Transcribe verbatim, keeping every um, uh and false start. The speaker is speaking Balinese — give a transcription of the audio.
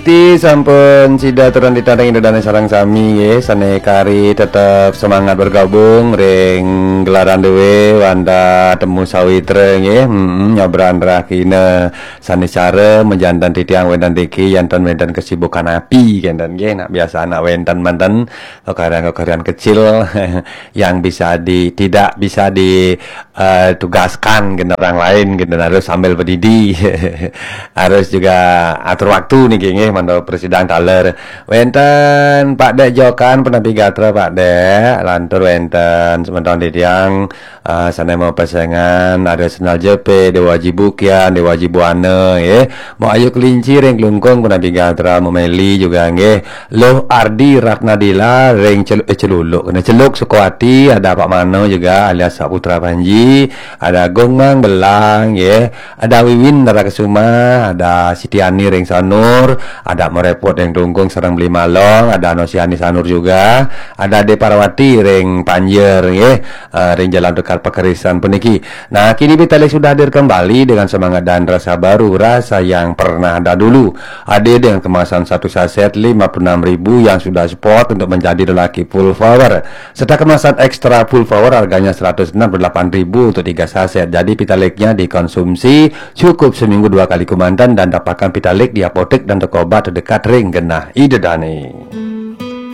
Ti sampun sida turan titah ring Ida Dane sareng sami nggih, sane kari tetep semangat bergabung ring gelaran duwe wanda Temu Sawitra nggih. Mm-mm, nyobran rahina sane cara majanten titiang wenten tiki yanten wenten kesibukan api kenten nggih. Nak biasa anak wenten manten pekerjaan-pekerjaan kecil yang bisa di tidak bisa di eh, tugaskan gitu orang lain gitu harus sambil berdidi harus juga atur waktu niki nggih mantuk presidang taler wenten Pak Dek Jokan penapi gatra Pak Dek lantur wenten semeton titiang eh, sane mau pesengan ada Senal Jepe Dewa Jibukian Dewa Jibuana nggih mau ayu kelinci ring kelungkung penapi gatra mau meli juga nggih Luh Ardi Ratnadila ring celu, eh, celuluk kena celuk Sukoati ada Pak Mano juga alias Saputra Panji ada Gong Mang Belang ya ada Wiwin Nara Kesuma ada Siti Ani ring Sanur ada Merepot ring Tungkung sareng Beli Malong ada Nosiani Sanur juga ada De Parwati ring Panjer ya eh, ring Jalan Tukar Pakerisan puniki. Nah, kini Pitalis sudah hadir kembali dengan semangat dan rasa baru, rasa yang pernah ada dulu. Hadir dengan kemasan satu saset lima puluh enam ribu yang sudah spot untuk menjadi lelaki full power. Serta kemasan ekstra full power harganya seratus enam puluh delapan ribu untuk tiga saset. Jadi Pitaliknya dikonsumsi cukup seminggu dua kali kemanten dan dapatkan Pitalik di apotek dan toko obat terdekat ring genah Ida Dane.